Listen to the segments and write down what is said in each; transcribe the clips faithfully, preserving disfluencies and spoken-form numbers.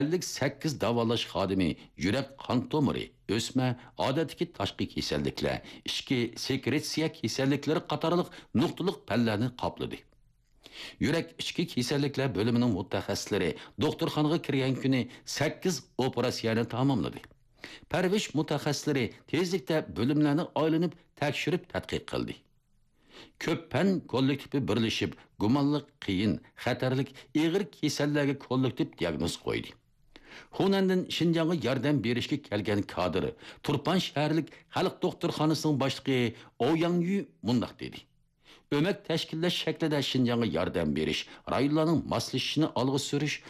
ئەللىك سەككىز داۋالاش خادىمى يۈرەك قان تومۇرى، ئۆسمە، ئادەتتىكى تاشقى كېسەللىكلەر، ئىچكى سېكرېتسىيە كېسەللىكلىرى قاتارلىق نۇقتىلىق پەنلەرنى قاپلىدى. يۈرەك ئىچكى كېسەللىكلەر بۆلۈمىنىڭ مۇتەخەسسىسلىرى دوختۇرخانىغا كىرگەن كۈنى سەككىز ئوپېراتسىيەنى تاماملىدى. پەرۋىش مۇتەخەسسىسلىرى تېزلىكتە بۆلۈملەرنى ئايلىنىپ تەكشۈرۈپ تەتقىق قىلدى. كۆپ پەن كوللېكتىپى بىرلىشىپ، گۇمانلىق، قىيىن، خەتەرلىك، ئېغىر كېسەللەرگە كوللېكتىپ دىياگنوز قويدى. خۇنەندىن شىنجاڭغا ياردەم بېرىشكە كەلگەن كادىر، تۇرپان شەھەرلىك خەلق دوختۇرخانىسىنىڭ باشلىقى ئوياڭيۈ مۇنداق دېدى: ئۆمەك تەشكىللەش شەكلىدە شىنجاڭغا ياردەم بېرىش، رايونلارنىڭ ماسلىشىشىنى ئالغا سۈرۈش،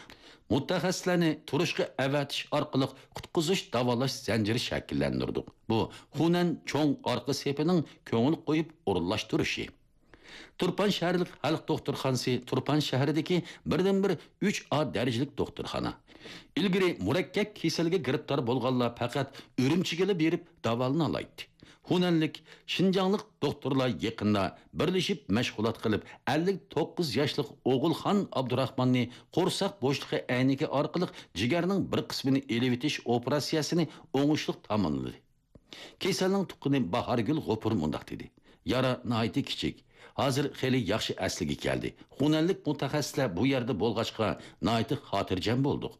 مۇتەخەسسىسلەرنى تۇرۇشقا ئەۋەتىش ئارقىلىق قۇتقۇزۇش داۋالاش زەنجىرى شەكىللەندۈردۇق. بۇ خۇنەن چوڭ ئارقا سېپىنىڭ كۆڭۈل قويۇپ ئورۇنلاشتۇرۇشى. تۇرپان شەھەرلىك خەلق دوختۇرخانىسى تۇرپان شەھىرىدىكى بىردىنبىر ئۈچ ئا دەرىجىلىك دوختۇرخانا. ئىلگىرى مۇرەككەپ كېسەلگە گىرىپتار بولغانلار پەقەت ئۈرۈمچىگىلا بېرىپ داۋالىنالايتتى. خۇنەنلىك، شىنجاڭلىق دوختۇرلار يېقىندا بىرلىشىپ مەشغۇلات قىلىپ، ئەللىك توققۇز ياشلىق ئوغۇلخان ئابدۇراخماننى قورساق بوشلۇقى ئەينىكى ئارقىلىق جىگەرنىڭ بىر قىسمىنى ئېلىۋېتىش ئوپېراتسىيەسىنى ئوڭۇشلۇق تاماملىدى. كېسەلنىڭ تۇغقىنى باھارگۈل غوپۇر مۇنداق دېدى: يارا ناھايىتى كىچىك، ھازىر خېلى ياخشى ئەسلىگە كەلدى. خۇنەنلىك مۇتەخەسسىسلەر بۇ يەردە بولغاچقا، ناھايىتى خاتىرجەم بولدۇق.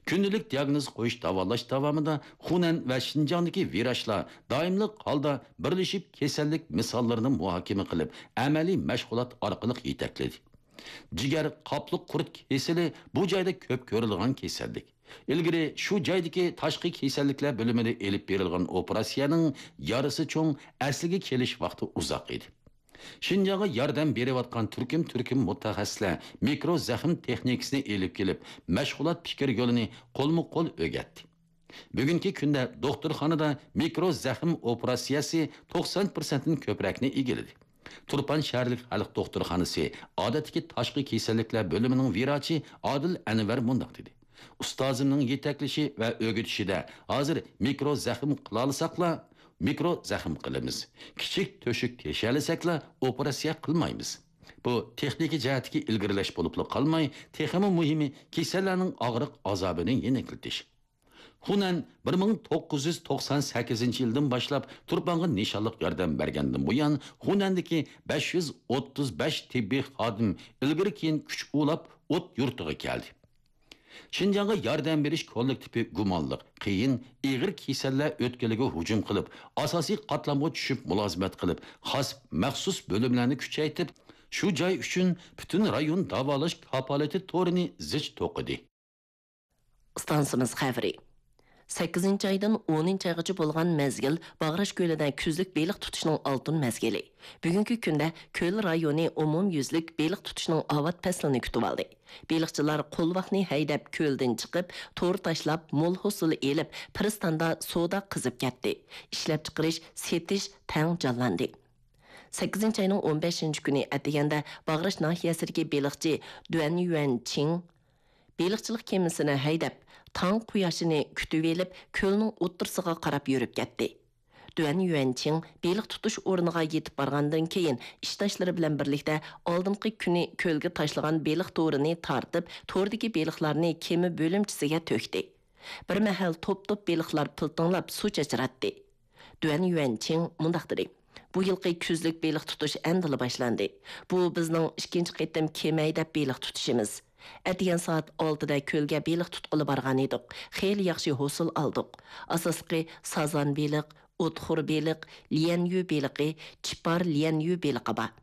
كۈندىلىك دىياگنوز قويۇش، داۋالاش داۋامىدا خۇنەن ۋە شىنجاڭدىكى ۋىراچلار دائىملىق ھالدا بىرلىشىپ، كېسەللىك مىساللىرىنى مۇھاكىمە قىلىپ، ئەمەلىي مەشغۇلات ئارقىلىق يېتەكلىدى. جىگەر قاپلىق قۇرت كېسىلى بۇ جايدا كۆپ كۆرۈلىدىغان كېسەللىك. ئىلگىرى شۇ جايدىكى تاشقى كېسەللىكلەر بۆلۈمىدە ئېلىپ بېرىلغان ئوپېراتسىيەنىڭ يارىسى چوڭ، ئەسلىگە كېلىش ۋاقتى ئۇزاق ئىدى. شىنجاڭغا ياردەم بېرىۋاتقان تۈركۈم-تۈركۈم مۇتەخەسسىسلەر مىكرو زەخىم تېخنىكىسىنى ئېلىپ كېلىپ، مەشغۇلات پىكىر يولىنى قولمۇ قول ئۆگەتتى. بۈگۈنكى كۈندە دوختۇرخانىدا مىكرو زەخىم ئوپېراتسىيەسى توقسان پىرسەنتتىن كۆپرەكنى ئىگىلىدى. تۇرپان شەھەرلىك خەلق دوختۇرخانىسى ئادەتتىكى تاشقى كېسەللىكلەر بۆلۈمىنىڭ ۋىراچى ئادىل ئەنۋەر مۇنداق دېدى: ئۇستازىمنىڭ يېتەكلىشى ۋە ئۆگىتىشىدە ھازىر مىكرو زەخىم قىلالىساقلا، مىكرو زەخىم قىلىمىز. كىچىك تۆشۈك تېشىيەلىسەكلا، ئوپېراتسىيە قىلمايمىز. بۇ تېخنىكا جەھەتتىكى ئىلگىرىلەش بولۇپلا قالماي، تېخىمۇ مۇھىمى، كېسەللەرنىڭ ئاغرىق ئازابىنى يېنىكلىتىش. خۇنەن بىر مىڭ توققۇز يۈز توقسان سەككىزىنچى يىلدىن باشلاپ تۇرپانغا نىشانلىق ياردەم بەرگەندىن بۇيان، خۇنەندىكى بەش يۈز ئوتتۇز بەش تېببىي خادىم ئىلگىرى كېيىن كۈچ ئۇلاپ ئوت يۇرتىغا كەلدى. شىنجاڭغا ياردەم بېرىش كوللېكتىپى گۇمانلىق، قىيىن، ئېغىر كېسەللەر ئۆتكىلىگە ھۇجۇم قىلىپ، ئاساسىي قاتلامغا چۈشۈپ مۇلازىمەت قىلىپ، خاس مەخسۇس بۆلۈملەرنى كۈچەيتىپ، شۇ جاي ئۈچۈن پۈتۈن رايون داۋالاش كاپالىتى تورىنى زىچ توقۇدى. ئىستانسىمىز خەۋىرى. سەككىزىنچى ئايدىن ئونىنچى ئايغىچە بولغان مەزگىل باغراش كۆلىدە كۈزلۈك بېلىق تۇتۇشنىڭ ئالتۇن مەزگىلى. بۈگۈنكى كۈندە كۆل رايونى ئومۇميۈزلۈك بېلىق تۇتۇشنىڭ ئاۋات پەسلىنى كۈتۈۋالدى. بېلىقچىلار قولۋاقنى ھەيدەپ كۆلدىن چىقىپ، تور تاشلاپ، مول ھوسۇل ئېلىپ، پىرىستاندا سودا قىزىپ كەتتى. ئىشلەپچىقىرىش، سېتىش تەڭ جانلاندى. سەككىزىنچى ئاينىڭ ئون بەشىنچى كۈنى ئەتىگەندە باغراش ناھىيەسىدىكى بېلىقچى دۈەن يۈەن چىڭ بېلىقچىلىق كېمىسىنى ھەيدەپ، تاڭ قۇياشىنى كۈتۈۋېلىپ، كۆلنىڭ ئوتتۇرىسىغا قاراپ يۈرۈپ كەتتى. دۈەن يۈەنچىڭ بېلىق تۇتۇش ئورنىغا يېتىپ بارغاندىن كېيىن، ئىشداشلىرى بىلەن بىرلىكتە ئالدىنقى كۈنى كۆلگە تاشلىغان بېلىق تورىنى تارتىپ، توردىكى بېلىقلارنى كېمە بۆلۈمچىسىگە تۆكتى. بىر مەھەل توپ-توپ بېلىقلار پىلتىڭلاپ سۇ چاچراتتى. دۈەن يۈەنچىڭ مۇنداق دېدى: بۇ يىلقى كۈزلۈك بېلىق تۇتۇش ئەمدىلا باشلاندى. بۇ بىزنىڭ ئىككىنچى قېتىم كېمە ھەيدەپ بېلىق تۇتۇشىمىز. ئەتىگەن سائەت ئالتىدە كۆلگە بېلىق تۇتقىلى بارغان ئىدۇق. خېلى ياخشى ھوسۇل ئالدۇق. ئاساسلىقى سازان بېلىق، ئوتخور بېلىق، ليەنيۈ بېلىقى، چىپار ليەنيۈ بېلىقى بار.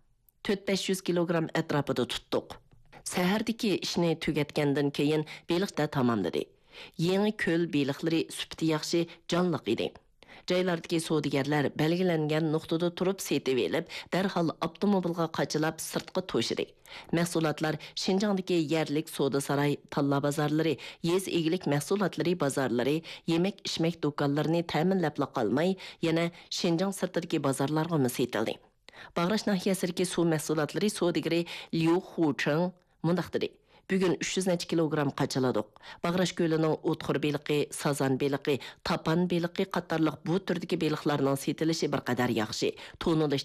تۆت بەش يۈز كىلوگرام ئەتراپىدا تۇتتۇق. سەھەردىكى ئىشنى تۈگەتكەندىن كېيىن بېلىق تاماملىدى. يېڭى كۆل بېلىقلىرى سۈپىتى ياخشى، جانلىق ئىدى. جايلاردىكى سودىگەرلەر بەلگىلەنگەن نۇقتىدا تۇرۇپ سېتىۋېلىپ، دەرھال ئاپتوموبىلغا قاچىلاپ سىرتقا توشىدى. مەھسۇلاتلار شىنجاڭدىكى يەرلىك سودا ساراي، تاللا بازارلىرى، يېزا ئىگىلىك مەھسۇلاتلىرى بازارلىرى، يېمەك-ئىچمەك دۇكانلىرىنى تەمىنلەپلا قالماي، يەنە شىنجاڭ سىرتىدىكى بازارلارغىمۇ سېتىلدى. باغراش ناھىيەسىدىكى سۇ مەھسۇلاتلىرى سودىگىرى ليۇ خۇچېڭ مۇنداق دېدى: بۈگۈن ئۈچ يۈز نەچچە كىلوگرام قاچىلىدۇق. باغراش كۆلىنىڭ ئوتخور بېلىقى، سازان بېلىقى، تاپان بېلىقى قاتارلىق بۇ تۈردىكى بېلىقلارنىڭ سېتىلىشى بىر قەدەر ياخشى. تونۇلۇش